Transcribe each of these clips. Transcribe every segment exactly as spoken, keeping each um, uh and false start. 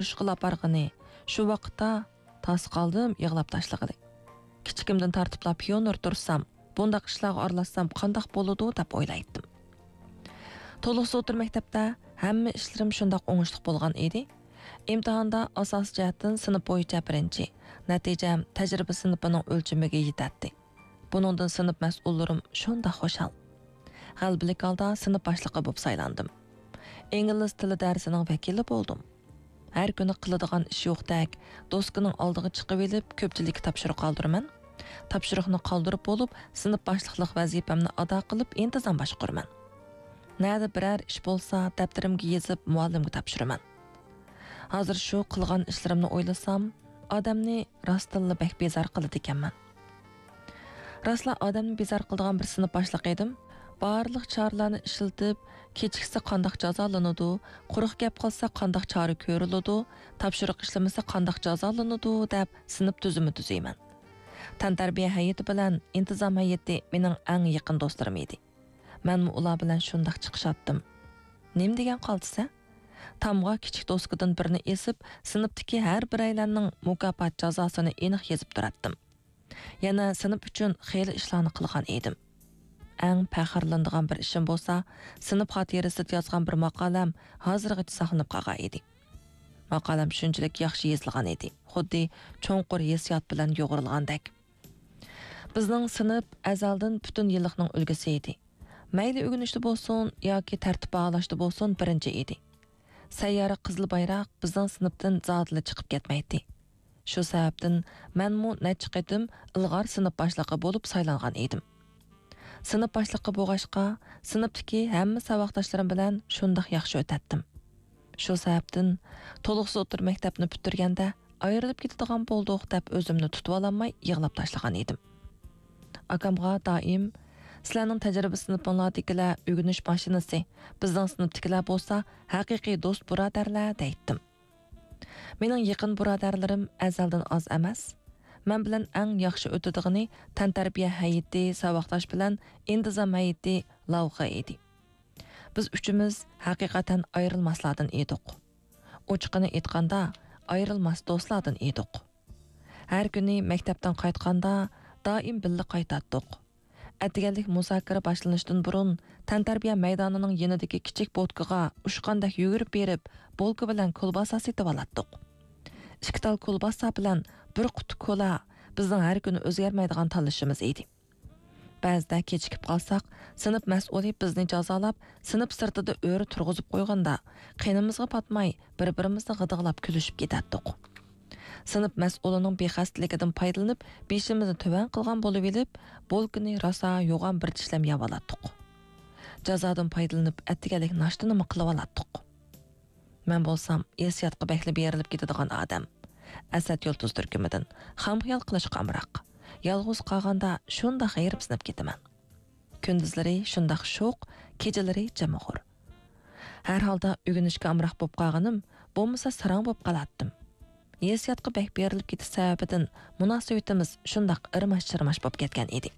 ئۇرۇشقىلا بارغىنى، شۇ ۋاقىتتا تاس قالدىم يىغلاپ تاشلىغىلى. كىچىكىمدىن تارتىپلا پىيونېر تۇرسام، بۇنداق ئىشلارغا ئارىلاشسام قانداق بولىدۇ دەپ ئويلايتتىم. تولۇقسىز ئوتتۇرا مەكتەپتە ھەممە ئىشلىرىم شۇنداق ئوڭۇشلۇق بولغان ئىدى. ئىمتىھاندا ئاساسىي جەھەتتىن سىنىپ بويىچە بىرىنچى، نەتىجەم تەجرىبە سىنىپىنىڭ ئۆلچىمىگە يېتەتتى. بۇنىڭدىن سىنىپ مەسئۇللىرىم شۇنداق خۇشال. غەلىبىلىك ھالدا سىنىپ باشلىقى بولۇپ سايلاندىم. ئىنگلىز تىلى دەرسىنىڭ ۋەكىلى بولدۇم. ھەر كۈنى قىلىدىغان ئىش يوقتەك، دوسكىنىڭ ئالدىغا چىقىۋېلىپ، كۆپچىلىككە تاپشۇرۇق قالدۇرىمەن. تاپشۇرۇقنى قالدۇرۇپ بولۇپ، سىنىپ باشلىقلىق ۋەزىپەمنى ئادا قىلىپ، ئىنتىزام باشقۇرىمەن. نەدە بىرەر ئىش بولسا، دەپتىرىمگە يېزىپ، مۇئەللىمگە تاپشۇرىمەن. ھازىر شۇ قىلغان ئىشلىرىمنى ئويلىسام، ئادەمنى راستتىنلا بەك بىزار قىلىدىكەنمەن. راستلا ئادەمنى بىزار قىلىدىغان بىر سىنىپ باشلىقى ئىدىم. بارلىق چارىلەرنى ئىشلىتىپ، كېچىكسە قانداق جازالىنىدۇ، قۇرۇق گەپ قىلسا قانداق چارە كۆرۈلىدۇ، تاپشۇرۇق ئىشلىمىسە قانداق جازالىنىدۇ دەپ سىنىپ تۈزۈمى تۈزىمەن. تەنتەربىيە ھەيئىتى بىلەن ئىنتىزام ھەيئىتى مېنىڭ ئەڭ يېقىن دوستلىرىم ئىدى. مەنمۇ ئۇلار بىلەن شۇنداق چىقىشاتتىم. نېمە دېگەن قالتىس-ھە؟ تامغا كىچىك دوسكىدىن بىرنى ئېسىپ، سىنىپتىكى ھەر بىرەيلەننىڭ مۇكاپات جازاسىنى ئېنىق يېزىپ تۇراتتىم. يەنە سىنىپ ئۈچۈن خېلى ئىشلارنى قىلغان ئىدىم. ئەڭ پەخىرلىنىدىغان بىر ئىشىم بولسا، سىنىپ خاتىرىسىدە يازغان بىر ماقالەم ھازىرغىچە ساقلىنىپ قالغان ئىدى. ماقالەم شۇنچىلىك ياخشى يېزىلغان ئىدى، خۇددى چوڭقۇر ھېسسىيات بىلەن يۇغۇرۇلغاندەك. بىزنىڭ سىنىپ ئەزەلدىن پۈتۈن يىللىقنىڭ ئۈلگىسى ئىدى. مەيلى ئۆگىنىشتە بولسۇن ياكى تەرتىپ باھالاشتا بولسۇن بىرىنچى ئىدى. سەييارە قىزىل بايراق بىزنىڭ سىنىپتىن زادىلا چىقىپ كەتمەيتتى. شۇ سەۋەبتىن مەنمۇ نەچچە قېتىم ئىلغار سىنىپ باشلىقى بولۇپ سايلانغان ئىدىم. سىنىپ باشلىقى بولغاچقا، سىنىپتىكى ھەممە ساۋاقداشلىرىم بىلەن شۇنداق ياخشى ئۆتەتتىم. شۇ سەۋەبتىن تولۇقسىز ئوتتۇرا مەكتەپنى پۈتتۈرگەندە، ئايرىلىپ كېتىدىغان بولدۇق دەپ ئۆزۈمنى تۇتۇۋالالماي يىغلاپ تاشلىغان ئىدىم. ئاكامغا دائىم، سىلەرنىڭ تەجرىبە سىنىپىڭلاردىكىلەر ئۆگىنىش ماشىنىسى، بىزنىڭ سىنىپتىكىلەر بولسا ھەقىقىي دوست بۇرادەرلەر دەيتتىم. مېنىڭ يېقىن بۇرادەرلىرىم ئەزەلدىن ئاز ئەمەس. مەن بىلەن ئەڭ ياخشى ئۆتىدىغىنى تەنتەربىيە ھەيئىتى ساۋاقداش بىلەن ئىنتىزام ھەيئىتى لاۋخى ئىدى. بىز ئۈچىمىز ھەقىقەتەن ئايرىلماسلاردىن ئىدۇق. ئوچۇقىنى ئېيتقاندا، ئايرىلماس دوستلاردىن ئىدۇق. ھەر كۈنى مەكتەپتىن قايتقاندا، دائىم بىللە قايتاتتۇق. ئەتىگەنلىك مۇزاكىرە باشلىنىشتىن بۇرۇن، تەنتەربىيە مەيدانىنىڭ يېنىدىكى كىچىك بوتكىغا ئۇچقاندەك يۈگۈرۈپ بېرىپ، بولكا بىلەن كولباسا سېتىۋالاتتۇق. ئىككى تال كولباسا بىلەن بىر قۇتا كولا بىزنىڭ ھەر كۈنى ئۆزگەرمەيدىغان تاللىشىمىز ئىدى. بەزىدە كېچىكىپ قالساق، سىنىپ مەسئۇلى بىزنى جازالاپ، سىنىپ سىرتىدا ئۆرە تۇرغۇزۇپ قويغاندا، قېنىمىزغا پاتماي، بىر-بىرىمىزنى غىدىقلاپ كۈلۈشۈپ كېتەتتۇق. سىنىپ مەسئۇلىنىڭ بىخەستىلىكىدىن پايدىلىنىپ، بېشىمىزنى تۆۋەن قىلغان بولۇۋېلىپ، بولكىنى راسا يوغان بىر چىشلەم يەۋالاتتۇق. جازادىن پايدىلىنىپ، ئەتىگەنلىك ناشتىنىمۇ قىلىۋالاتتۇق. مەن بولسام ھېسسىياتقا بەكلا بېرىلىپ كېتىدىغان ئادەم. ئەسەت يۇلتۇز تۈركۈمىدىن خام خىيال قىلىشقا ئامراق. يالغۇز قالغاندا شۇنداق غېرىبسىنىپ كېتىمەن. كۈندۈزلىرى شۇنداق شوخ، كېچىلىرى جىمىغۇر. ھەر ھالدا ئۆگىنىشكە ئامراق بولۇپ قالغىنىم، بولمىسا ساراڭ بولۇپ قالاتتىم. ھېسسىياتقا بەك بېرىلىپ كېتىش سەۋەبىدىن مۇناسىۋىتىمىز شۇنداق ئىرماش-چىرماش بولۇپ كەتكەن ئىدى.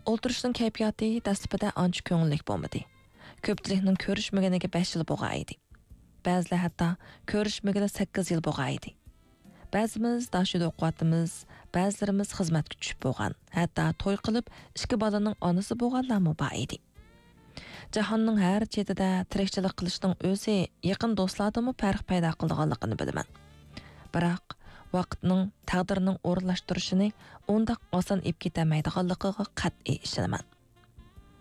ئولتۇرۇشنىڭ كەيپىياتى دەسلىپىدە ئانچە كۆڭۈللۈك بولمىدى. كۆپچىلىكنىڭ كۆرۈشمىگىنىگە بەش يىل بولغان ئىدى. بەزىلەر ھەتتا كۆرۈشمىگىلى سەككىز يىل بولغان ئىدى. بەزىمىز داشىدا ئوقۇۋاتىمىز، بەزىلىرىمىز خىزمەتكە چۈشۈپ بولغان، ھەتتا توي قىلىپ، ئىككى بالىنىڭ ئانىسى بولغانلارمۇ بار ئىدى. جاھاننىڭ ھەر چېتىدە تىرىكچىلىك قىلىشنىڭ ئۆزى يېقىن دوستلاردىنمۇ پەرق پەيدا قىلىدىغانلىقىنى بىلىمەن. بىراق، ۋاقىتنىڭ، تەقدىرنىڭ ئورۇنلاشتۇرۇشىنى ئۇنداق ئاسان ئېلىپ كېتەلمەيدىغانلىقىغا قەتئىي ئىشىنىمەن.